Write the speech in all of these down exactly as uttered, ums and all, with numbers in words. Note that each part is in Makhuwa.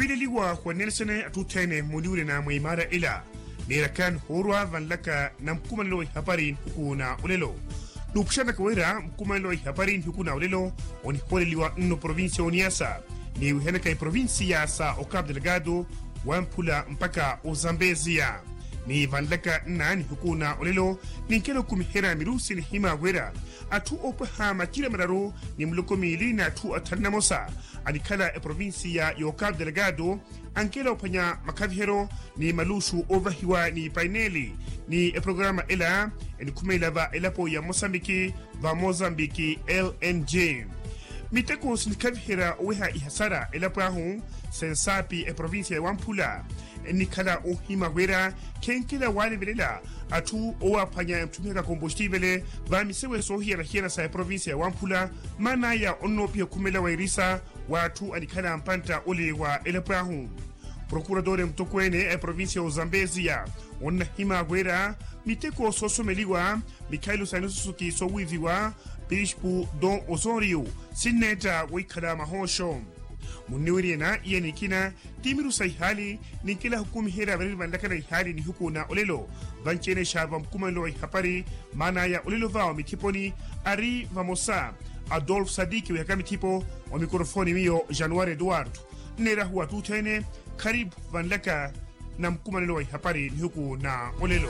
Ohiileliwa wa nelson atthu othene muniwirina mwa imaara ila, neerakani hoorwa vanlaka na mukumanelo wa ihapari nihuku na olelo. Nuupuxanaka wira mukumanelo wa ihapari nihuku na olelo, onihooleliwa nno provincia ya oniasa, ni wihanaka iprovincia sa ocapo delgado, wamphula mpakha ozambeziya. Ni vanlaka nna nihuku na olelo, ninkela okumiherya mirusi nihima wira atthu oopwaha macira mararu ni miloko miili na atthu athanu na mosa anikhala eprovincia ya ocapo delgado, ankela ophwanya makhaviheryo ni maluxu oovahiwa ni paineli, ni eprograma ela enikhumelela va elapo ya mosambiki, va mosambiki lng. Miteko sinikhaviherya oweha ihasara elapo ahu, sensaapi eprovincia ya wamphula enikhala oohima wira khenkela waalivelela atthu owaaphwanya emutthumihaka kompostivele va misewe soohiyana-hiyana sa eprovincia ya wamphula. Maan'aya onnoopiha okhumela wa erisa wa atthu anikhala mpantta ole wa elapo ahu. Prokuratore mutokweene a eprovincia ya ozambeziya onnahima wira miteko soosomeliwa mikhailu sa nisusuki soowiiviwa pispu don osorio sinneetta woikhala mahooxo. Munniwiriyana iya nikina ti miru sa ihaali ninkela hukumiherya variri vanlakana ihaali nihuku na olelo, vanci-ene xa va mukumanelo wa ihapari. Maan'aya olelo va wa mithiponi ari vamosa adolf sadiki wihaka mithipo. Wa mikorofoni miyo januari eduardo, nneerahuwa atthu othene kharipu vanlaka na mukumanelo wa ihapari nihuku na olelo.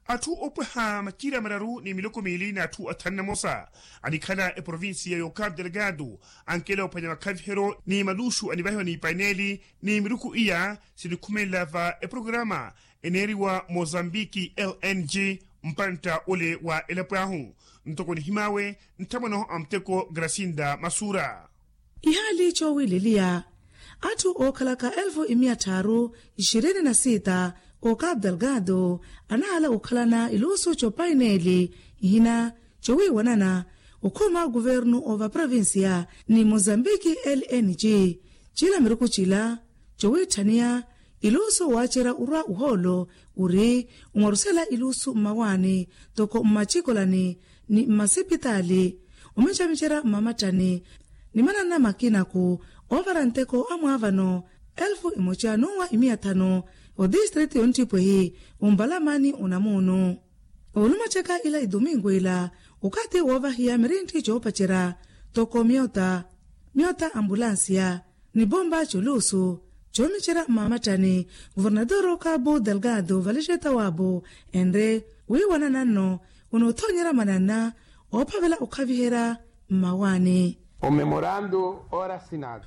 Atthu oopwaha macira mararu ni miloko miili na atthu athanu na mosa anikhala eprovincia ya ocapo delgado, ankela ophwanya makhaviheryo ni maluxu anivahiwa ni paineli, ni miruku iya sinikhumelela va eprograma eneeriwa mosambiki lng, mpantta ole wa elapo ahu. Ntoko nihim'awe nthamwanoho a muteko grasinda masura. Ihaali coowileliya atthu ookhalaka elfu imiya tthaaru ishirini na sita ocapo delgado anahala okhalana ilusu copaineeli ihina cowiiwanana okhuma kuvernu ova provincia ni mozambiki lng. Cila miruku cila cowiitthaniya ilusu waacerya orwa ohoolo ori omwarusela ilusu mmawaani toko mmacikolani ni mmasipitaali omincamicerya mmamattani ni mananna makinaku oovara nteko amwaavano elfu imoca n'uwa imiya thanu. Odistritu yonttipwehi ompalamani onamuunu oolumacaka ila idomingo ila okathi woovahiya mirintti coopacerya toko myota myota ambulansiya ni pompa coluusu coomicerya mmaamattani. Kuvernatoro kapu delgado valixeta waapu enre wiiwanana nno onoothonyerya mananna oophavela okhaviherya mmawaani.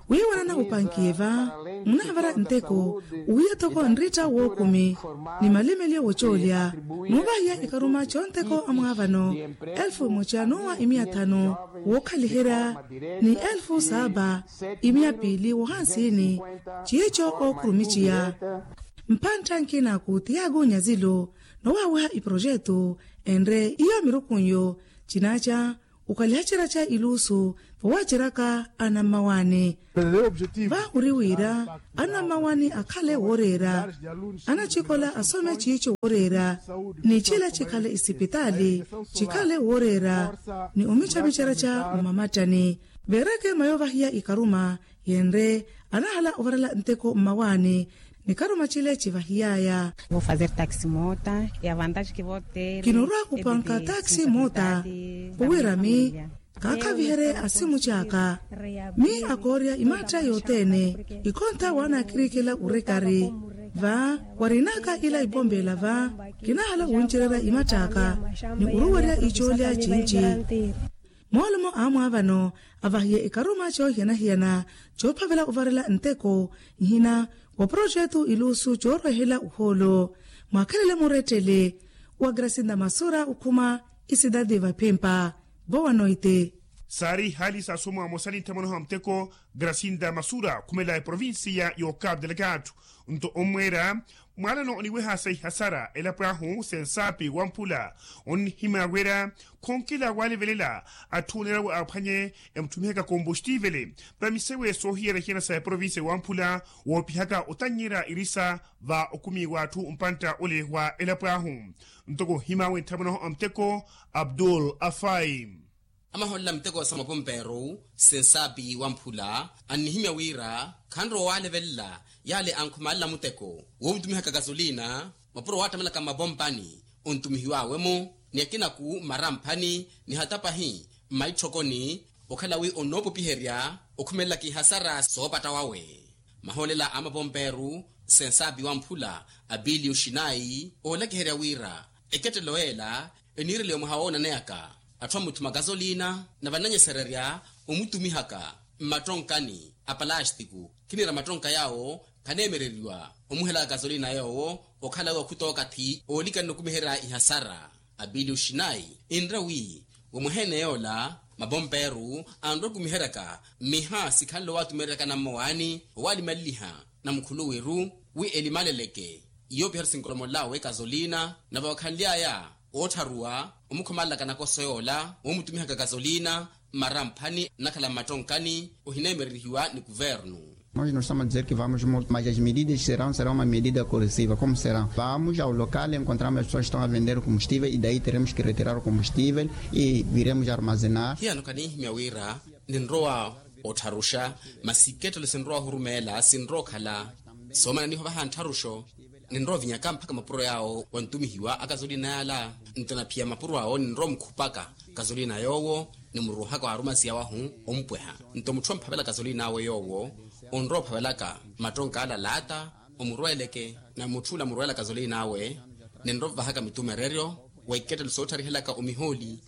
Wiiwanana opankiye va munaavara nteko owiya toko nritta wookumi ni malimelyo wocoolya noovahiya ikaruma conteko amwaavano elfu emoca n'uwa imiya thanu wookhaliherya ni elfu saapa imiya piili wohansini ciico ookhurumiciya. Mpantta nkina ku tiago nyazilo nowaaweha iprojetu enre iyo mirukunyo cinaaca okhalihacerya ca ilusu vowaaceryaka anammawaani. Va ori wira anammawaani akhale wooreera anacikola asome ciico wooreera ni cila cikhale isipitaali cikhale wooreera ni omicamicerya ca mmamattani. Veereke mayo vahiya ikaruma yenre anahala ovarela nteko mmawaani ni karuma cile civahiyaya. Kinurwa kupanka taxi moota owirami kaakhaviherye asimu caaka mi akoorya imaatta yothene ikhonta waanaakirikela orekari va warinaka ila ipompeela va kinahala wuncererya imatt'aka ni oruwerya icoolya cinci. Moolumo a mwaavano avahiye ikaruma coohiyana-hiyana coophavela ovarela nteko nhina wa projetu ilusu coorwehela ohoolo mwaakhelele murettele wa grasinda masura okhuma isidadi vaphimpa. Vowa noite saari ihaali saasomo amosa ni nthamwanoho a muteko grasinda masura khumela eprovincia y'ocapo delgado nto ommweera Mwaalano oniweha sa ihasara elapo ahu sensaapi wamphula, onnihimya wira khonkela waalevelela atthu oneerawe aphwanye emutthumihaka kompostivele vamisewe soohiyerya hiyana sa eprovinsiya wamphula, woopihaka otannyerya irisa va okumiwa atthu mpantta ole wa elapo ahu. Ntoko ohimawe nthamwanaho a muteko abdul afai. Amaholela muteko sa mapomperu sensaapi wamphula annihimya wira khanrowa waalevelela yale ankhumalela muteko woomutumihaka kasolina mapuro waattamelaka mmapompani. Ontumihiwawe-mo ni akinaku mmaramphani ni hata pahi mmaitthokoni okhala wi onnoopopiherya okhumelelaka ihasara soopatta wawe. Maholela a mapomperu sensaapi wamphula apiliyo shinayi oolakiherya wira ekettelo ela eniireliwa mwaha woonaneyaka atthu amuthuma kasolina na vananyesererya omutumihaka mmattonkani a palastiku. Khiniira mattonka yaawo khaneemereriwa omuhelaka kasolina yoowo okhala wi okhutookathi oolikana okumiherya ihasara. Apiliyo shinayi enre wi womwehene yoola mapomperu anrowa okumiheryaka mmiha sikhanle owaatumereryaka nammowaani owaalimaleliha na mukhuluwiru wi elimaleleke yoopiherya sinkolomolelawe kasolina na vakhanly'aya oottharuwa omukhomalelaka nakoso yoola woomutumihaka kasolina mmaramphani nnakhala mmattonkani ohineemererihiwa ni kuvernu. Nós não estamos a dizer que vamos mudar mas as medidas serão serão uma medida corrosiva como serão vamos ao local encontramos as pessoas estão a vender o combustível e daí teremos que retirar o combustível e viremos armazenar. Hiyano khanihimya wira ninrowa ottharuxa masi kettelo sinrowa ohurumeela sinrowa okhala soomananiho vaha nttharuxo. Ninrowa ovinyaka mpakha mapuro yaawo wantumihiwa akasolina yaala nto naphiya mapuro awo ninrowa omukhupaka kasolina yoowo nimuruuhaka waarumasiya wahu ompweha. Nto mutthu omphavela kasolina awe yoowo onrowa ophavelaka mattonka ala laata omurweeleke na mutthu ola amurweela kasolina awe ninrowa ovahaka mitumereryo wa ikettelo soottarihelaka omihooli.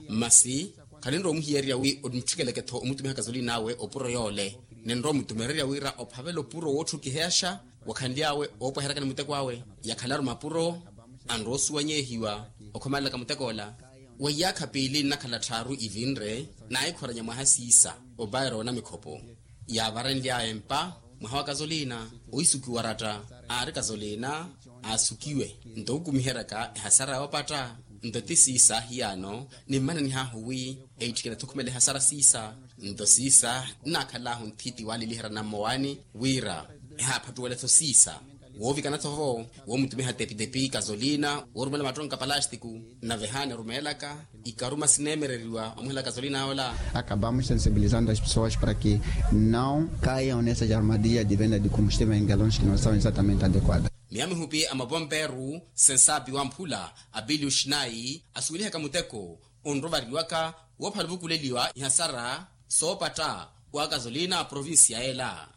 Masi khaninrowa omuhiyererya wi omutthikeleke-tho omutumiha kasolina awe opuro yoole ninrowa omutumererya wira ophavela opuro wootthukiheyaxa wakhanly'awe oopweheryaka ni muteko awe. Yakhalaru mapuro anrowa osuwanyehiwa okhomalelaka muteko ola weiyaakha piili nnakhala tthaaru ivinre naahikhoranya mwaha siisa opaera onamikhopo yaavarenly'aya empa mwaha wa kasolina oisukiwa oratta aari kasolina aasukiwe nto okumiheryaka ehasara yoopatta. Nto ti siisa hiyano nimmananih'ahu wi eitthikene-tho okhumela ehasara siisa nto siisa nnaakhal'ahu nthiti waaliliherya nammowaani wira ehaaphattuwele-tho siisa woovikana-tho vo woomutumiha tepitepi kasolina woorumela mattonka palastiku. Nave ehaana erumeelaka ikaruma sineemereriwa omuhela kasolina yoola. Acabamos sensibilizando as pessoas para que não caiam nessas armadilhas de venda de combustível em galões que não são exatamente adequadas. Miya mihupi a mapomperu sensaapi wamphula apiliyo shinayi asuwelihaka muteko onrovariwaka woophala ovukuleliwa ihasara soopatta wa kasolina a provincia ela.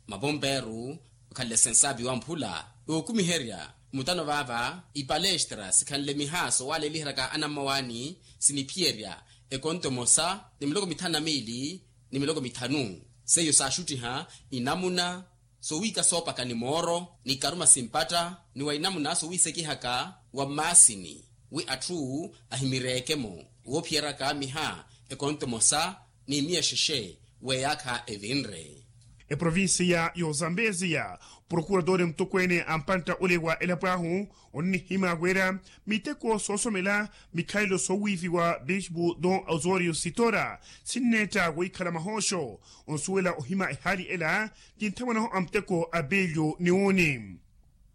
Mapomperu okhanle sensaapi wamphula ookumiherya mutano vaava ipalestra sikhanle miha soowaaleliheryaka anammowaani siniphiyerya ekonto emosa ni miloko mithanu na miili ni miloko mithanu. Seiyo saaxuttiha inamuna sowiika soopaka ni mooro ni ikaruma simpatta ni wa inamuna sowiisekihaka wa mmaasini wi atthu ahimireeke-mo woophiyeryaka miha ekonto emosa ni miya exexe weeyaakha evinre. Eprovincia y'ozambeziya prokuradori mutokweene a mpantta ole wa elapo ahu onnihima wira miteko soosomela mikhalelo soowiifiwa bispu don osorio sitora sinneetta wohikhala mahooxo onsuwela ohima ehaali ela ti nthamwanaho a muteko a bilyo ni uuni.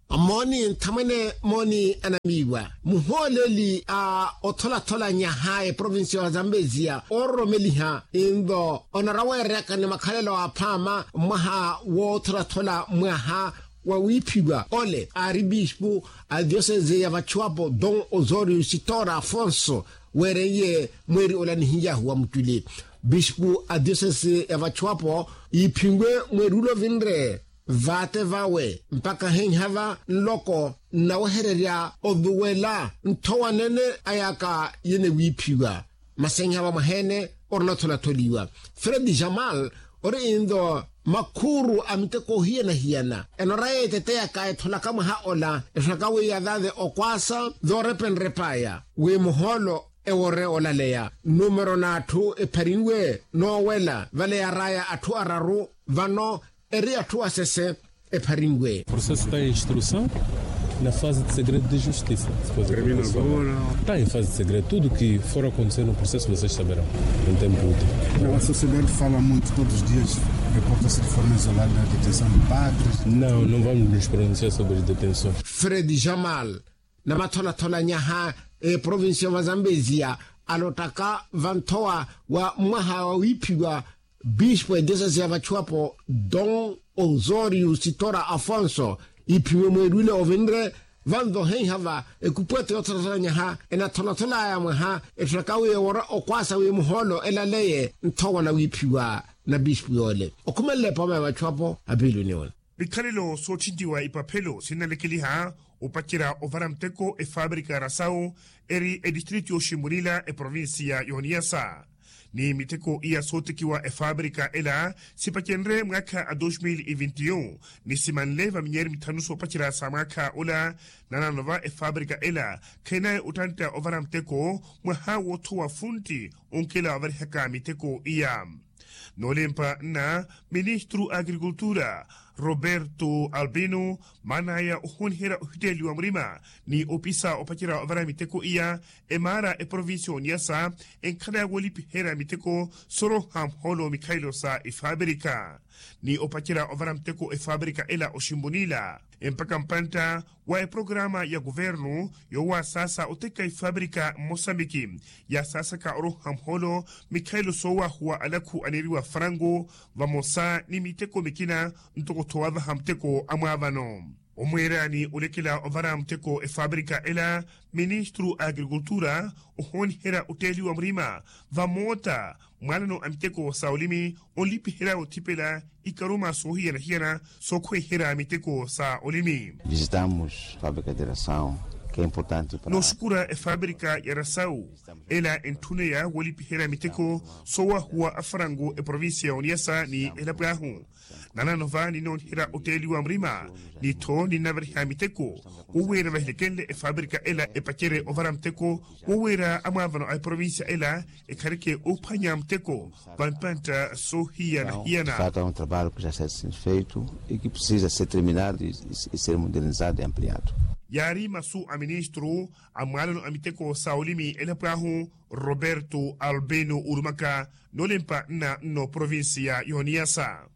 Mooni nthamwene mooni anamiiwa muhooleli a otholatholaanyaha eprovincia wa zambeziya oororomeliha inlo onaraweereyaka ni makhalelo aphaama mwaha wootholathola mwaha wa wiiphiwa ole aari bispu a diosese ya vachuapo don osorio sitora afonso weereiye mweeri ola nihiyahu wa muttuli bispu a diosese ya vachuapo yiiphinwe mweeri ula ovinre vaate vawe mpakha henhava nloko nnawehererya ovuwela nthowa nene ayaka yenewiiphiwa masi enhava mwaheene orina otholatholiwa fredi jamal ori inlo makhuuru a miteko ohiyana-hiyana enoraya eteteyaka etholaka mwaha ola etholaka wi yavave okwaasa voorepenrepaya wi muhoolo ewore olaleya numero n'atthu epharinwe noowela vale yaraya atthu araru vano eri atthu asese epharinwe. Processo está em instrução na fase de segredo de justiça. Está em fase de segredo. Tudo que for acontecer no processo vocês saberão em tempo útil. A sociedade fala muito todos os dias, reporta-se de forma isolada a detenção de padres. Não, não vamos nos pronunciar sobre detenções. Fred Jamal, na matholathola nyaha eprovincia va Zambezia, alottaka vanthowa wa mwaha wa wiiphiwa bispo ediosesia vachuwapo don Osorio Sitora Afonso, iiphiwe mweerwile ovinre. Vanvo heiha va ekupweto yootholathola nyaha enatholatholaya mwaha etthaka wi ewora okwaasa wi muhoolo elaleye nthowa na wiiphiwa na bispo yoole okhumelela epooma ya vachuwapo apiiluni ole. Mikhalelo sootthintiwa ipaphelo sinnalekeliha opacerya ovara muteko efaabrika ya rasawu eri edistritu yooximpunila eprovincia y'oniyasa. Ni miteko iya sootekiwa efaabrika ela sipacenrye mwaakha a dos mil e vinti un ni simanle va minyeeri mithanu soopacerya sa mwaakha ola. Nanano va efaabrika ela khainaye ottantta ovara muteko mwaha woothowa funtti onkela ovarihaka miteko iya. Noolempa nna ministru a agrikultura roberto albino maanaya ohooniherya ohitteeliwa murima ni opisa opacerya ovara miteko iya emaara eprovincia y'oniyasa enkhala woolipiherya miteko sooroha muhoolo mikhalelo sa efaabrika ni opacerya ovara miteko efaabrika ela oximpunila empaka mpantta wa eprograma ya kuvernu yoowasaasa oteka efaabrika mmosambiki yaasaasaka oroha muhoolo mikhalelo soowahuwa alakhu aneeriwa franku vamosa ni miteko mikina ntoko-tho wavaha muteko amwaavano omweerani olekela ovara muteko efaabrika ela ministru a agrikultura ohooniherya otteeliwa murima vamoota mwaalano a miteko sa olimi onlipiherya othipela ikaruma soohiyana-hiyana sookhweiherya miteko sa olimi. Visitamos fábrica de ração que é importante para nooxukura efaabrika ya rasawu ela entthuneya woolipiherya miteko soowahuwa afaranku eprovincia y'oniyasa ni elapo ahu nanano va ninnooniherya otteeliwa murima ni-tho ninnavariha miteko woweera vahilekenle efaabrika ela epacerye ovara muteko woweera amwaavano a eprovincia ela ekhareke oophwanya muteko va mpantta soohiyana-hiyana. Fata un trabalho que já está sendo feito e que precisa ser terminado e ser modernizado e ampliado. Yaari masu a ministru a mwaalano a miteko sa olimi elapo ahu roberto albino orumaka noolempa nna nno provincia y'oniyasa.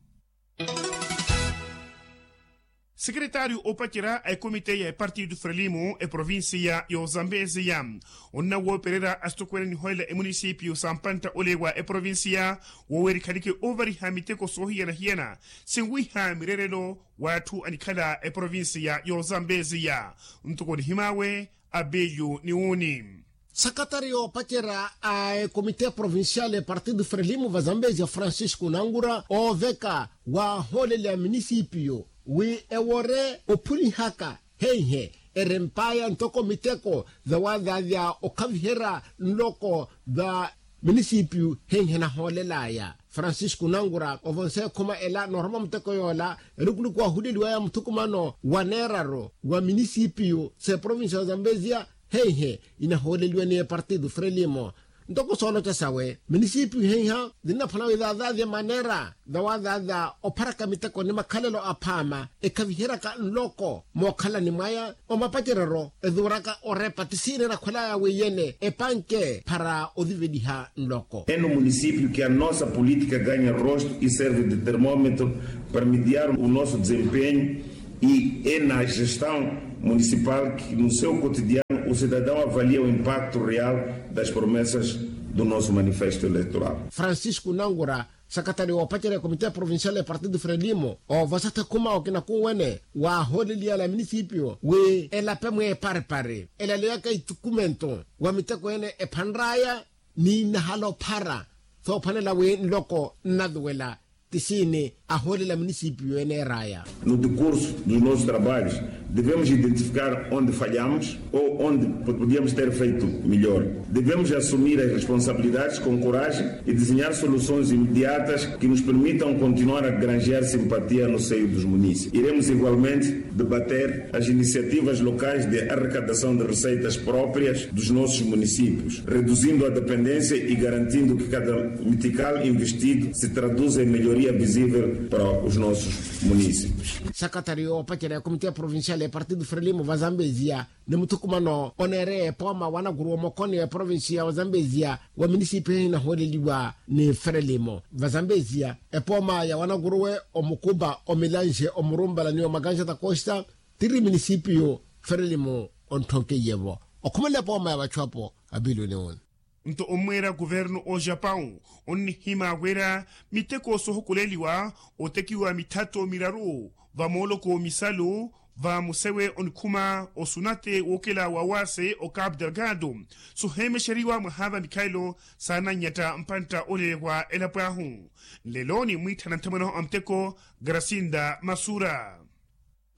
Sekeretaryu oopacerya a ekomite ya epartido frelimo eprovincia y'ozambeziya onnawoopererya asitokweene niholela emunisipiyu sa mpantta ole wa eprovincia woweerikhanike oovariha miteko soohiyana-hiyana sinwiha mireerelo w'atthu anikhala eprovincia y'ozambeziya ntoko nihim'awe abiyu ni wuni. Sakatari yoopacerya a ekomite provincial epartido frelimo va zambezia francisco nangura ooveka waahoolelya minisipiyo wi ewore ophulihaka heihe erempaya ntoko miteko vawavavya okhaviherya nloko va minisipiyo heihe nahoolelaya francisco nangura ovonse ekhuma ela nooroma muteko yoola elukuluku waahuleliwaya muthukumano wa neeraru wa minisipiyo s'eprovincia ya zambezia heihe inahooleliwe ni epartido frelimo ntoko sooloca sawe minisipiyu heiha zinnaphwana wi zazaavye maneera zawazaza opharaka miteko ni makhalelo aphaama ekhaviheryaka nloko mookhalani mwaya omapacereryo ezuuraka orepa ti siina enakhwelaya weiyene epanke para oziveliha nloko. É no município que a nossa política ganha rosto e serve de termômetro para mediar o nosso desempenho e é na gestão municipal que no seu cotidiano o cidadão avalia o impacto real das promessas do nosso manifesto eleitoral. Francisco nangura sakatari woopacerya ekomite provincial epartido frelimo oovosatha khuma okina khuwene waahooleliyala minisipiyo wi elape mweeparipari elaleyaka ithukumentu wa miteko ene ephanraya ni nnahala ophara soophwanela wi nloko nnaluwela ti siini ahoolela minisipiyo eneeraya. No decurso dos nossos trabalhos devemos identificar onde falhamos ou onde podíamos ter feito melhor. Devemos assumir as responsabilidades com coragem e desenhar soluções imediatas que nos permitam continuar a granjear simpatia no seio dos munícipes. Iremos igualmente debater as iniciativas locais de arrecadação de receitas próprias dos nossos municípios, reduzindo a dependência e garantindo que cada metical investido se traduza em melhoria visível Para os nossos municípios. Sakatari oopacerya ya komite ya provincial ya partido frelimo va zambezia ni muthukumano oneereye epooma wa nakuruwa omokoni wa provincia wa zambezia wa minisipi hinahooleliwa ni frelimo va zambezia epooma ya wanakuruwe omukuba omilanxe omurumpala ni omakanxa takosta tiri minisipiyu frelimo ontthonkeiye-vo okhumela epooma ya vachu apo. Apiluni uni. Nto ommweera kuvernu o japawu onnihima wira miteko soohukuleliwa otekiwa mithato miraru va mooloko misalu va musewe onikhuma osunate wookela wa wase o capu delgado soheemexeriwa mwaha va mikhaelo saananyatta mpantta olewa elapo ahu. Nlelo nimwiitthana nthamwene a muteko grasinda masura.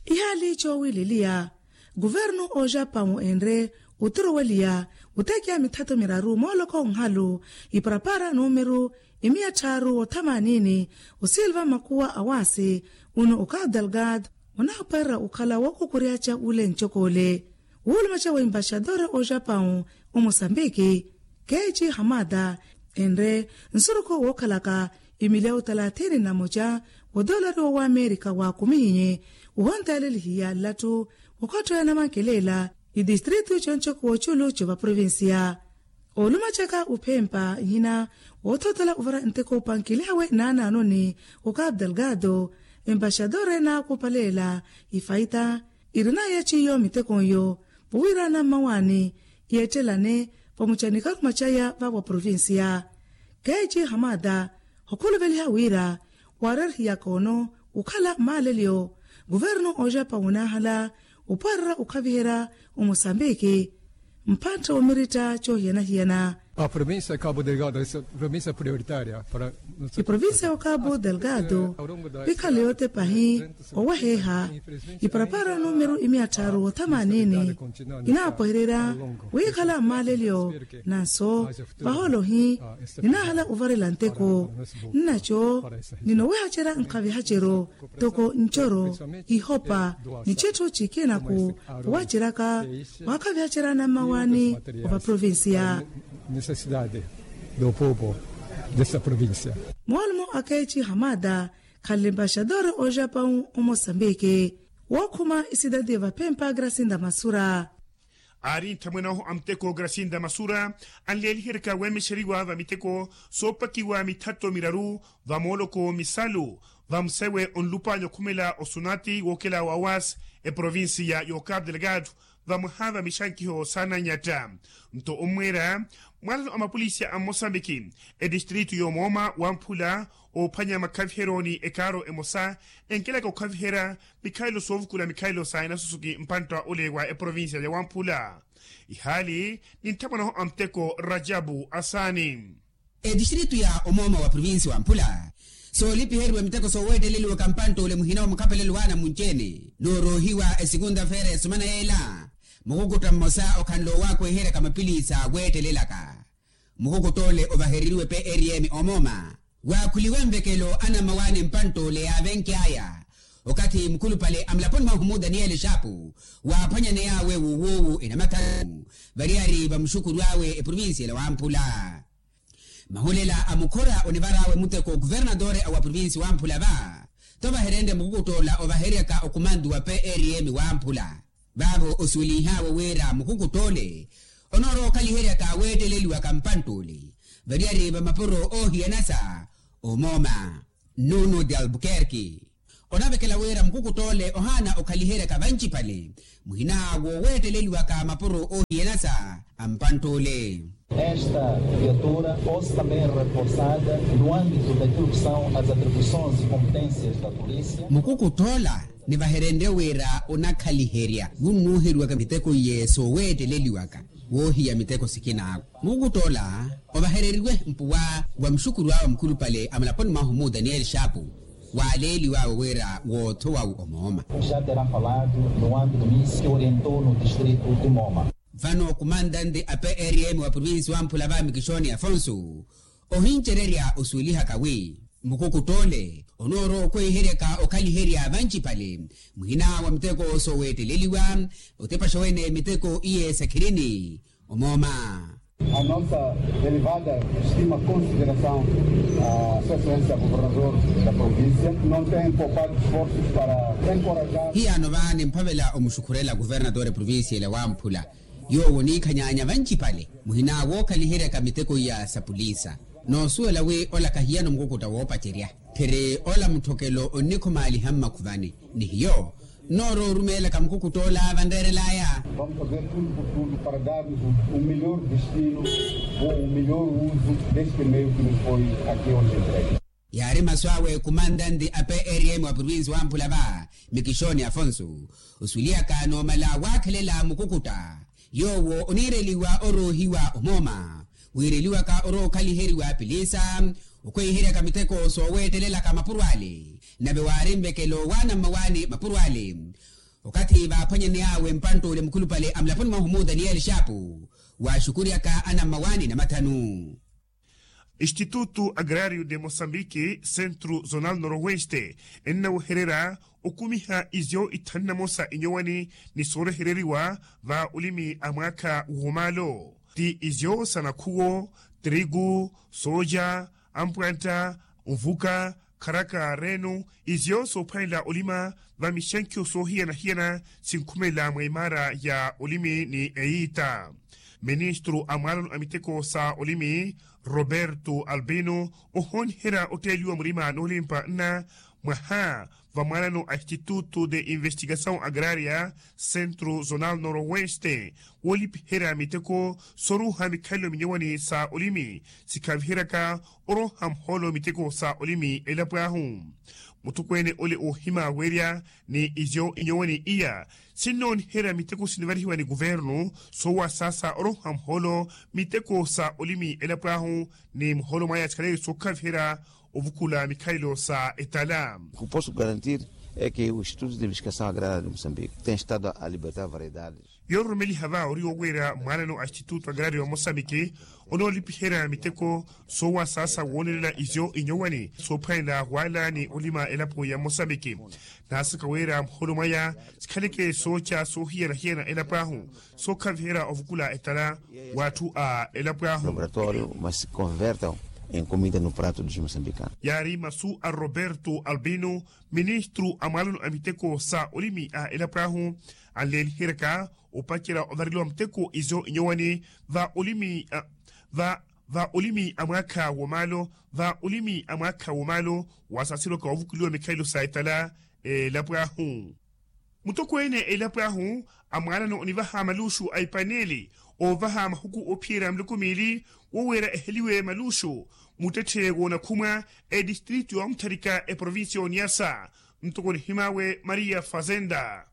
Ihaali coowileliya kuvernu ojapawu enre oturoweliya otekiya mithato miraru mooloko nhalu iparapara numeru imiya tthaaru othamaanini osilva makuwa awaasi. Uno o capu delgado onaaparerya okhala wookukuryaca ule ncokoole wuulumaca wa embaxadore ojapawu omosambiki keeci hamada enre nsuruku wookhalaka emilyawu talathini na moca wa dolari wa amerika waakumihinye ohonteelelihiya nlatthu wokhotthoya namankelela itistritu concoku woculu covaprovincia. Olumacaka uphempa nhina woothotola ovara nteko opankilawe naanaanoni o capu delgado embaxadore naakupalela ifaita irina yeeciyo miteko iyo vowirana mmawaani yeettelane pamuca ni karumaca ya vawa provincia. Keeci hamada okhuluveliha wira waareerihiyaka ono okhala maalelyo kuvernu ojapawu onaahala opwarerya okhaviherya omosambiki mpatto omiritta coohiyana-hiyana. A provincia ya capu delgado esa provincia prioritaria para iprovincia ya capu delgado pikhala yootepahi oweheeha iparapara numeru imiya tthaaru othamaanini inaapwehererya wiikhala maalelyo nanso vaholohi ninaahala ovarela nteko nnaco ninowehacerya nkhavihaceryo toko ncoro ihopa ni citthu cikinaku wawaceryaka waakhavihaceryana mmawaani ovaprovincia. Moolumo akeeci hamada khanle embaxadore ojapawu omosambiki wookhuma isidadi ya vaphempa grasinda masura. Aari nthamwene ahu a muteko grasinda masura anleeliheryaka weemexeriwa va miteko soopakiwa mithato miraru va mooloko misalu va musewe onlupaanya okhumela osunati wookela wa awas eprovincia y'ocapu delgado vamwaha va mixankiho saananyatta. Nto ommweera mwalano a mapolisi a mmosambiki etistritu y'omooma wamphula oophwanya makhaviheryo ni ekaaro emosa enkelaka okhaviherya mikhalelo soovukula mikhalelo sa enasusuki mpantta ole wa eprovincia ya wamphula. Ihaali ni nthamwanaho a muteko rajabu asaani. Etistritu ya omooma wa provincia wamphula soolipiheriwa miteko sooweetteleliwaka mpantta ole muhina wa mukhapelelo waana munci-ene nooroohiwa esikunda feera ya sumana yeela. Mukukutta mmosa okhanle owaakweheryaka mapilisa weettelelaka mukukutta ole ovahereriwe prm omooma waakhuliwe nvekelo anammawaani mpantta ole yaavenky'aya okathi mukhulupale a mulaponi mwahu mu daniyeli xaapu waaphwanyaney'awe wuwuuwu enamathanu variyari va muxukuru awe eprovincia ela wamphula. Mahulela a mukhora onivar'awe muteko okuvernatore a wa provincia wamphula va tovaherenrye mukukutta ola ovaheryaka okumantu wa prm wamphula vaavo osuwelinh'awe wira mukukutta ole onoorowa okhaliheryaka weetteleliwaka mpantta ole variyari va mapuro oohiyanasa omooma. Nuno de albuquerque onavekela wira mukukutta ole ohaana okhaliheryaka vancipale muhina wooweetteleliwaka mapuro oohiyanasa a mpantta ole. Esta viatura possa também reforçada no âmbito daquilo que são as atribuições e competências da polícia. Mukukutta ola nivaherenrye wira onakhaliherya wunnuuheriwaka miteko iye sooweetteleliwaka woohiya miteko sikinaawe. Mukukutta ola ovahereriwe mpuwa wa muxukuru awe mukhulupale a mulaponi mwahu mu daniyeli xaapu waaleeliw'awe wira woothowawu omooma. Já terá falado no âmbito misi orientou no distrito de moma. Vano kumantante a prm wa provincia wamphula va mikixoni afonso ohincererya osuwelihaka wi mukukutta ole onoorowa okweheryaka okhaliherya vancipale muhina wa miteko sooweetteleliwa otepaxa wene miteko iye sakhirini omooma. A nossa elevada estima consideração a sua excelência governador da província não tem poupado esforços para encorajar. Hiyano va nimphavela omuxukhurela governador provincia ela wamphula, yoowo oniikhanyaanya vancipale muhina wookhaliheryaka miteko iya sa pulisa. Noosuwela wi ola kahiyano mukukutta woopacerya, phiri ola mutthokelo onnikhumaaliha mmakhuvani. Ni hiyo noorowa orumeelaka mukukutta ola vanreerelaya. Vamos fazer tudo por tudo para darmos o melhor destino ou o melhor uso deste meio que nos foi aqui hoje entregue. Yaari masu awe kumantanti a prm wa provinsi wamphula va, mikixoni afonso, osuweliyaka noomala waakhelela mukukutta. Yoowo oniireliwa oroohiwa omooma, wiireliwaka oroowa okhaliheriwa pilisa, okhweiheryaka miteko sooweettelelaka mapuro ale. Nave waari nvekelo waana mmawaani mapuro ale. Okathi vaaphwanyaney'awe mpantt'ule mukhulupale a mulaponi mwahu mu daniyeli xaapu, waaxukuryaka ana mmawaani namathanu. Institutu agrario de mosambiki centro zonal noroeste ennawehererya okumiha izyo ithanu namosa inyowani ni soorehereriwa va olimi a mwaakha woomaalo, ti izyo sa nakhuwo, trigu, sooja, ampwantta, nvuka, kharaka reenu, izyo soophwanela olima va mixenkho soohiyana-hiyana sinkhumelela mwa imaara ya olimi ni eyiita. Ministru a mwaalano a miteko sa olimi roberto albino ohooniherya otteeliwa murima noolimpa nna mwaha va mwaalano a institutu de investigasaw agraria centro zonal noroeste woolipiherya miteko soruuha mikhalelo minyowani sa olimi sikhaviheryaka orooha muhoolo miteko sa olimi elapo ahu. Muttokweene ole oohima weerya ni izyo inyowani iya sinnooniherya miteko sinivarihiwa ni kuvernu soowasaasa orooha muhoolo miteko sa olimi elapo ahu ni muhoolo mwaya sikhaleke sookhaviherya ovukula mikhalelo sa etala. Kuposo garantir eke o institutu de investigasaw agraria de mosambiki ten estado a libertar variedades. Yoororomeliha va ori oweera mwaanano a institutu agraria wa mosambiki onoolipiherya miteko soowasaasa woonelela izyo inyowani soophwanela wala ni olima elapo ya mosambiki. Naasaka weera muhoolo mwaya sikhaleke sooca soohiyana-hiyana elapo ahu sookhaviherya ovukula etala w'atthu a elapo ahu. Laboratório mas se convertam em comida no prato dos moçambicanos. Yaari masu a roberto albino ministru a mwaalano a miteko sa olimi a elapo ahu anleeliheryaka opacerya ovareliwa muteko izo inyowani va olimi va va olimi a mwaakha woomaalo va olimi a mwaakha woomaalo wasaasirwaka ovukuliwa mikhalelo sa etala elapo ahu. Mutokweene elapo ahu amwaalano onivaha maluuxu a epaneeli oovaha mahuku oophiyerya miloko miili woweera eheliwe maluuxu muttetthe woonakhumwa etistritu ya omutharika eprovincia y'oniyasa ntoko nihim'awe maria fazenda.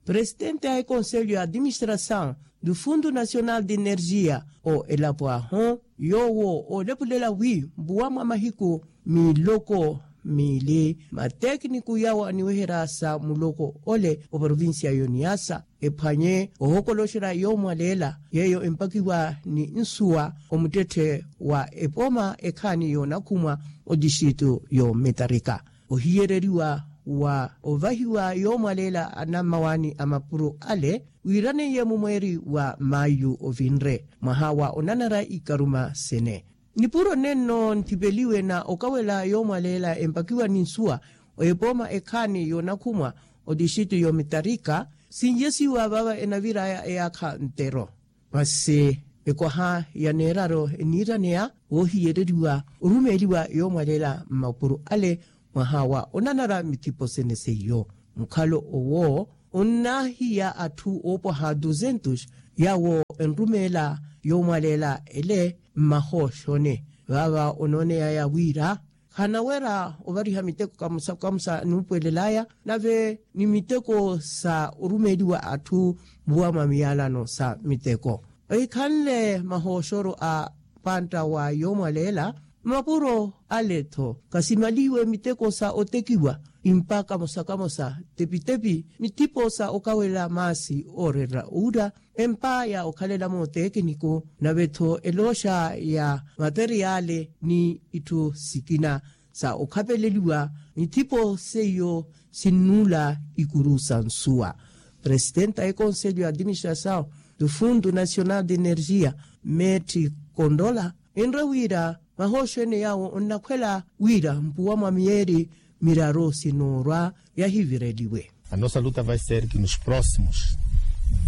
Presidente a ekonselho ya administrasaw du fundo nacional de energia o elapo ahu yoowo oolepulela wi mbuwa mwa mahiku miloko miili matekiniku yawo aniweherya sa muloko ole oprovincia y'oniyasa ephwanye ohokoloxerya yoomwaleela yeeyo empakiwa ni nsuwa omuttetthe wa epoma ekhaani yoonakhumwa otixitu y'ometarika ohiyereriwa wa ovahiwa yoomwaleela anammawaani a mapuro ale wiiraneiye mumweeri wa maayu ovinre mwaha wa onanara ikaruma sene. Nipuro nenno nthipeliwe na okawela yoomwaleela empakiwa ni nsuwa epoma ekhaani yoonakhumwa otixitu y'ometarika sinjesiwa vaava enavir'aya eyaakha ntero. Masi ekwaha ya neeraro eniiraneya woohiyereriwa orumeeliwa yoomwaleela mmapuro ale mwaha wa onanara mithipo sene seiyo mukhalo owo onnaahiya atthu oopwaha duzentus yawo enrumeela yoomwaleela ele mmahooxone vaava onooneyaya wira khanawera ovariha miteko kamusa kamusa nuupwelelaya nave ni miteko sa orumeeliwa atthu mbuwa mwa miyalano sa miteko. Ohikhanle mahooxoro a pantta wa yoomwaleela mmapuro ale-tho kasimalihiwe miteko sa otekiwa impa kamosa kamosa tepitepi mithipo sa okawela maasi ooreerera owura empa ya okhalela mootekiniku nave-tho elooxa ya materiyaali ni itthu sikina sa okhapeleliwa mithipo seiyo sinnuula ikuru sa nsuwa. Presitenti a ekonselho ya administrasaw do fundo nacional de energia, metti kondola, enre wira mahooxo ene yaawo onnakhwela wira mpuwa mwa miyeeri miraru sinoorwa yahivireliwe. A nossa luta vai ser que nos próximos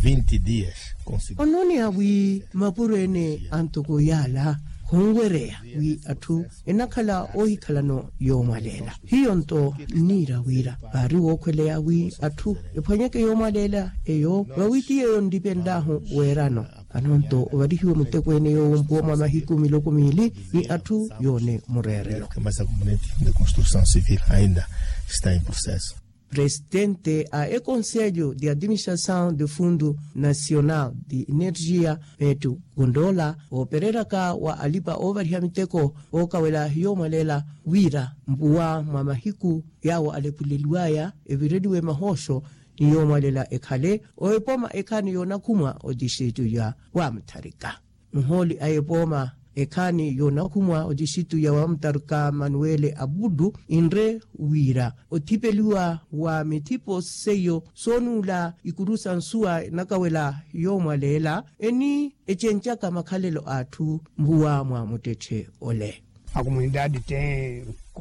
vinte dias consiga. Onooneya wi mapuro ene a ntoko yaala khunwereya wi atthu enakhala oohikhalano yoomwaleela. Hiyo nto nniira wira vaari wookhweleya wi atthu ephwanyeke yoomwaleela eyo vawi ti yeeyo nlipenlahu weerano. Vano nto ovarihiwe muteko ene yoowo mpuwa mwa mahiku miloko miili ni atthu yoone mureerelo. Mas a componente de construção civil ainda está em processo. Presidente a econselho de administração de fundo nacional de energia, metu kundoola oopereraka wa alipa oovariha miteko ookawela yoomwalela wira mpuwa mwa mahiku yaawo alepuleliwaya evireliwe mahooxo ni yoomwalela ekhale oepoma ekhaani yoonakhumwa otixitu ya wamutharika. Muhooli a epooma ekhaani yoonakhumwa otixitu ya wamutharika manuwele abudu inre wira othipeliwa wa mithipo seiyo soonuula ikuru sa nsuwa enakawela yoomwaleela eni ecenjaka makhalelo a atthu mpuwa mwa muttetthe ole.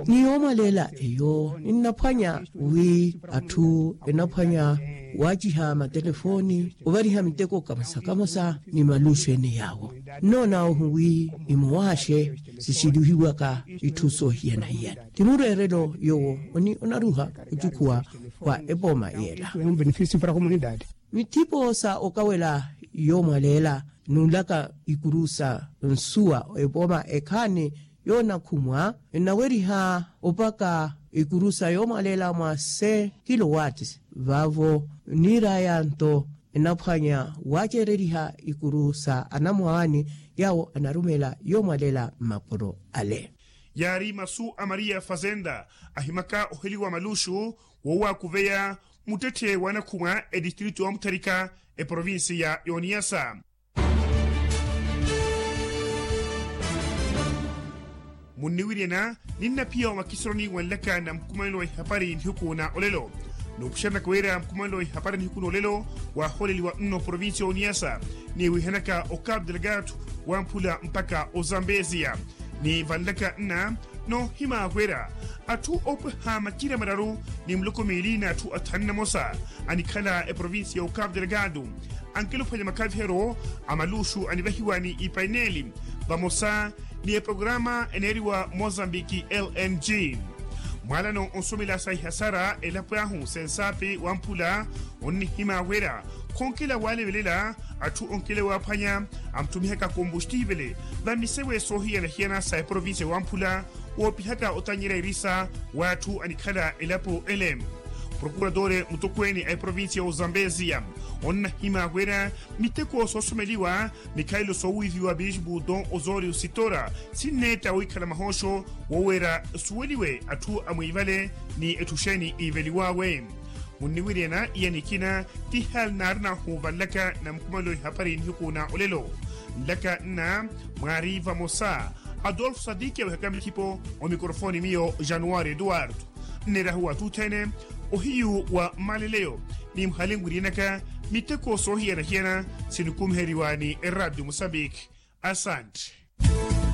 Ni yoomwaleela eyo ninnaphwanya wi atthu enaphwanya waaciha matelefooni ovariha miteko kamosa kamosa ni maluxu ene yaawo. Nnoona ohu wi imowaaxe sixilihiwaka itthu soohiyana-hiyana ti mureerelo yoowo oni onaruha ocukhuwa wa epooma yeela. Mithipo sa okawela yoomwaleela nuulaka ikuru sa nsuwa epooma ekhaani yoonakhumwa enaweriha opaka ikuru sa yoomwaleela mwa se kilowati vaavo niiraya nto enaphwanya waacereriha ikuru sa anamwaani yaawo anarumela yoomwaleela mmapuro ale. Yaari masu a maria fazenda ahimaka oheliwa maluxu woowakuveya muttetthe wanakhumwa edistritu wa mutharika eprovinsi ya yoniyasa. Munniwiryana ninnaphiya omakisironi wanlaka na mukumanelo wa ihapari nihiku na olelo. Nuupuxerenaka wira mukumanelo wa ihapari nihiku na olelo waaholeliwa nno provinsi ya oniyasa niwihanaka ocapu delgado wamphula mpaka ozambeziya. Ni vanlaka nna noohimaakwera atthu oopweha makira mararu ni muloko miili na atthu athanu na mosa anikhala eprovinsi ya ocapu delgado ankela ophwanya makhaviheryo a maluxu anivahiwa ni ipaineli vamosa ni eprograma eneeriwa mozambiki lng. Mwaalano onsomela sa ihasara elapo ahu sensapi wamphula onnihima wira khonkela waalevelela atthu onkela waaphwanya amuttumihaka kombustiivele va misewe soohiyana-hiyana sa eprovinsi ya wamphula woopihaka otanyerya irisa w'atthu anikhala elapo ele. Prokuratore mutokweene a eprovinsi ya ozambeziya onnahima wira miteko soosomeliwa mikhalelo soowiiviwa bispu don osorio sitora sinneetta wiikhala mahooxo woweera suweliwe atthu amwiivale ni etthu xeeni iiveliwawe. Munniwiryana iya nikina ti hali naarinahu vanlaka na mukumanelo ihapari nihiku na olelo. Nlaka nna mwaari vamosa adolfo sadiki awehaka mikhipo omikorofoni miyo januwari eduwardo. Nneerahu wa atthu othene ohiyu wa mmaleleyo ni muhali nwiryinaka miteko soohiyana-hiyana sinikuumiheriwa ni eradio mosambiki. Asanti.